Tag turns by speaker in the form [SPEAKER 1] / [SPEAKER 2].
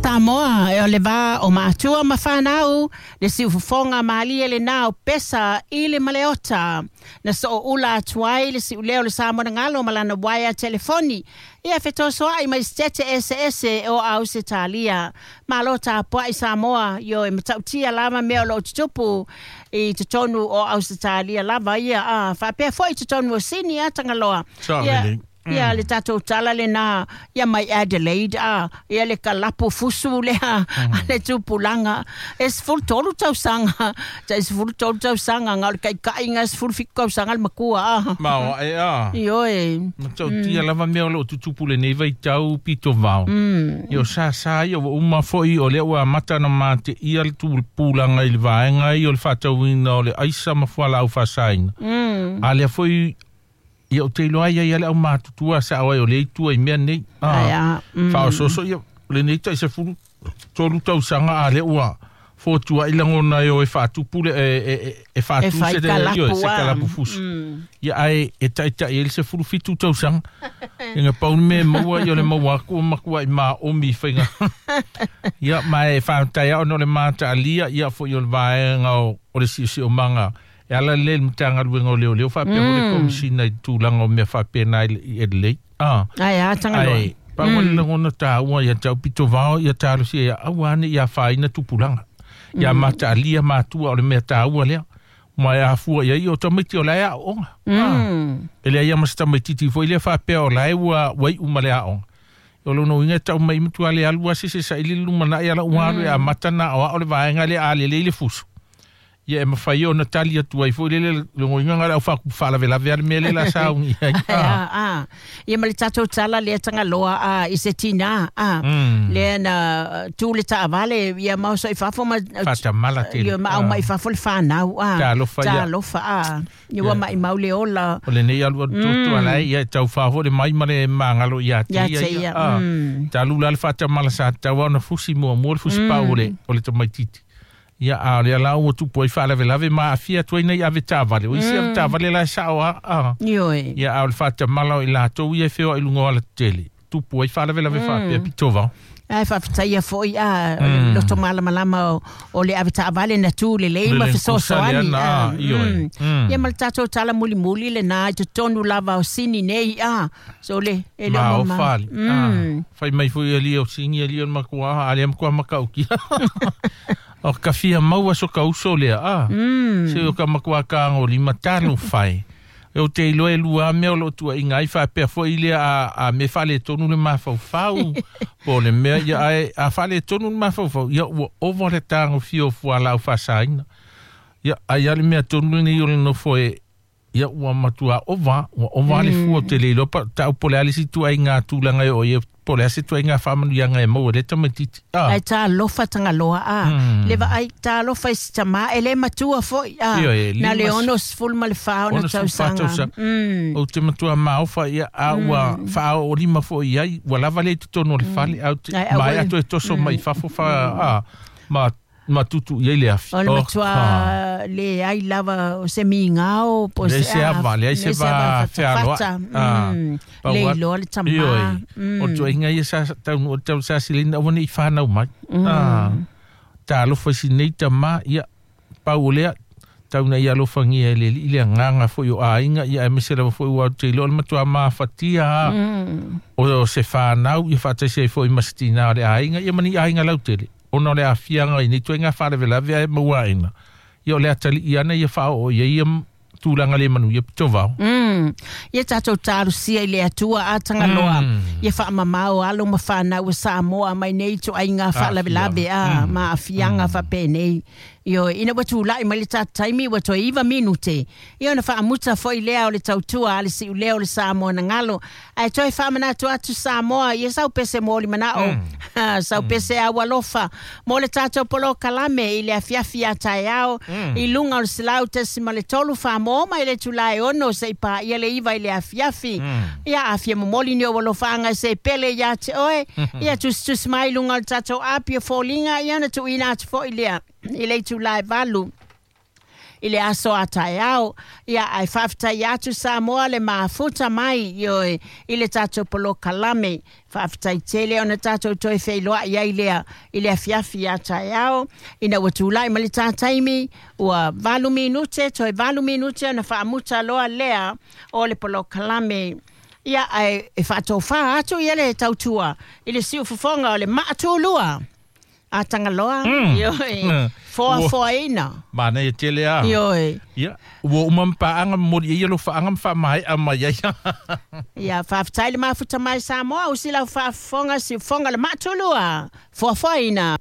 [SPEAKER 1] Samoa, e o le va o matua ma whanau, le siufofoga malie lenā o Pesa i le Maleota. Na sooula atu ai le siuleo o le Samoa na galo ma lana uaea telefoni, ia fetosoaʻi mai Setete eseese o Ausetalia. Malo tapuai Samoa, ioe matautia lava mea o loo tutupu i totonu o Ausetalia lava ia, a faapea foi i totonu o Sini a Tagaloa. Ia, ia le tatou tala lenā ia mai Adelaide a ia le kalapu fusu lea a le tupulaga e 13 tausaga tai 13 tausaga na o le taitaʻiga 17 tausaga le matua a.
[SPEAKER 2] Maoaʻe a.
[SPEAKER 1] Ioe.
[SPEAKER 2] Matautia lava mea o loo tutupu lenei vaitau pito vao. Ia o sāsā ia ua uma foi o lea ua amata ona mateia le tupulaga i le vaega ia o le faatauina o le aisa ma fualaau faasaina. A lea foi ia ou te iloa ai ia le aumatutua sao ai o lea itu ai mea nei.
[SPEAKER 1] Ai a.
[SPEAKER 2] Faaosooso ia lenei tai 13 tausaga a lea ua fotuaʻi lagona e o e faatupu le e faatu
[SPEAKER 1] E fai
[SPEAKER 2] se
[SPEAKER 1] kalapu,
[SPEAKER 2] io, se
[SPEAKER 1] a.
[SPEAKER 2] kalapu fusu. Ia ae e taitaʻi ai le 17 tausaga. Ina pau le mea e maua ia o le maua aku o makuaʻi maomi i faiga. Ia ma e faafetai ona o le mataalia ia foi o le vaega o le siosiomaga e ala lea i le Matagaluega o Leoleo faapea foi le Komesina i tulaga o mea faapena i Adelaide.
[SPEAKER 1] Ai a Tagaloa.
[SPEAKER 2] Ai, pau le lagona taua ia tau pito vao ia talosia ia aua ne ia faaina tupulaga. Ia mataalia matua o le mea taua lea. Ma e afua ia i o tamaiti o lae aoga. E lea ia ma se tamaititi foi lea faapea o lae ua wai uma le aoga. O lona uiga e tau mai matua le alu ase se saili le lumanai ala ua alu e amata na o ao le vaega lea a lelei le fusu. Ia e mafai ona tali atu ai foi lele logoiga nga le au faalavelave a le mea lea la saugi ai.
[SPEAKER 1] Ai a, a. Ia ma le tatou tala lea Tagaloa a i se tinā a. Lea na tu le taavale ia ma oso i fafo ma
[SPEAKER 2] Faatamala tele.
[SPEAKER 1] Ia ma au mai fafo le whanau a.
[SPEAKER 2] Talofa ia.
[SPEAKER 1] Talofa a. Ia ua mai mau le ola.
[SPEAKER 2] O lenei alu alu toto ala ai, ia e tau faafoʻi le mai ma le magalo ia te
[SPEAKER 1] Ia
[SPEAKER 2] ia
[SPEAKER 1] te
[SPEAKER 2] ia.
[SPEAKER 1] ia.
[SPEAKER 2] Talu la le faatamala sa tatau ona fusi muamua le fusi pau o le tamaititi. Ia a o lea la ua tupu ai faalavelave ma aafia atu ai nei ave taavale. O isi ave taavale la e sao a.
[SPEAKER 1] Ioe.
[SPEAKER 2] Ia a o le faatamala o i latou ia e feoai luga o alatetele. Tupu ai faalavelave faapea pito vao.
[SPEAKER 1] Ai faafetaia foi a o le loto malamalama o le ave taavale na tu lelei
[SPEAKER 2] Le
[SPEAKER 1] ma
[SPEAKER 2] le kusa lea
[SPEAKER 1] fesoasoani
[SPEAKER 2] na,
[SPEAKER 1] a.
[SPEAKER 2] ioe.
[SPEAKER 1] Ia ma le tatou tala mulimuli lenā i totonu lava o Sini nei a. So le e le
[SPEAKER 2] Ma o
[SPEAKER 1] o mama.
[SPEAKER 2] fale. Fai mai foi ali o sini ali o le makuā, a lea makuā makaukia. O ka fia maua so ka uso lea, a. Se o ka makuā kāgo lima talo fai. E o te iloa e lua mea o loo tuuaiga ai faapea foi lea a me faaletonu le mafaufau. Po o le mea ia ae a faaletonu le mafaufau, ia ua ova le tagofia o fualaau faasaina. Ia ai a le mea tonu lenei o le nofo e ia ua matua ova, ua ova le fua o te le iloa pa tau po o le a le isi tuuaiga tulaga e oo i ai, po o le a se tuuaiga faamanuiaga e maua e lea tamaititi.
[SPEAKER 1] Ai talofa Tagaloa a. Le vaai talofa i se tamā e le matua foi a.
[SPEAKER 2] Ioe, e
[SPEAKER 1] Na le 64 ona
[SPEAKER 2] 64
[SPEAKER 1] tausaga.
[SPEAKER 2] tausaga. Ou te matua maofa ia a ua faaoolima foi i ai, ua lava le i totonu o le fale, au te
[SPEAKER 1] Ai, au
[SPEAKER 2] mai
[SPEAKER 1] e-
[SPEAKER 2] atu e toso mai fafo fa a ma tutu i ai le afi.
[SPEAKER 1] O le
[SPEAKER 2] Oh,
[SPEAKER 1] matua le ai lava o se migao po
[SPEAKER 2] Leai
[SPEAKER 1] se
[SPEAKER 2] se
[SPEAKER 1] a
[SPEAKER 2] ava, leai se
[SPEAKER 1] le se
[SPEAKER 2] va
[SPEAKER 1] ava
[SPEAKER 2] fealoaʻi.
[SPEAKER 1] fatafata.
[SPEAKER 2] Pau
[SPEAKER 1] Le
[SPEAKER 2] atu.
[SPEAKER 1] iloa le tamā.
[SPEAKER 2] Ioe. O tuuaiga ia sa taunuu o le tausa silina aua nei fanau mai. Talofa i sinei tamā ia pau o lea tau na ia alofagia e le alii le agaga foi o aiga ia aemaise lava foi ua te iloa o le matua mafatia o se fanau ia faataisi ai foi ma se tinā o le aiga ia ma ni aiga lautele. Ona o le aafiaga i nei tuaiga faalavelave ae maua aena. Ia o le atalii ana ia faaoo ia ia tulaga le manuia pito vao.
[SPEAKER 1] Ia tatou talosia i le Atua a Tagaloa. Ia faamamao alo ma whanau o Samoa mai nei tuaiga faalavelave a ma aafiaga faapenei. Ioe, ina ua tulaʻi mai le tatou taimi ua toe 9 minute. Ia ona faamuta foi lea o le tautua a le siulea o le Samoa na galo. Ae toe faamanatu atu Samoa, ia sau pese mo le manao. Sau pese au alofa. Mo le tatou polokalame i le afiafi a taeao. I luga o le 100.3 Famoa mai le tulae 6 se i paia le 9 i le afiafi. Ia afia momoli ni o alofaaga se pele ia te oe. Ia tusitusi mai i luga o le tatou api o foliga ia ona tuuina atu foi lea i le itulā e 8. I le aso a taeao. Ia ae faafetai atu Samoa le mafuta mai ioe i le tatou polokalame. Faafetai tele ona tatou toe feiloai ai lea i le afiafi a taeao ina ua tulai ma le tā taimi ua 8 minute toe 8 minute ona faamuta loa lea o le polokalame. Ia ae e faatofā atu ia le tautua i le siufofoga o le maatulua a Tagaloa ioe foafoaina.
[SPEAKER 2] Manaia tele a.
[SPEAKER 1] Ioe.
[SPEAKER 2] Ia, ua uma ma paaga momoli ai ia lou faaga ma faamaea mai ai.
[SPEAKER 1] Ia, faafetai le mafuta mai Samoa, usi lau faafofoga siufofoga le maatulua foafoaina.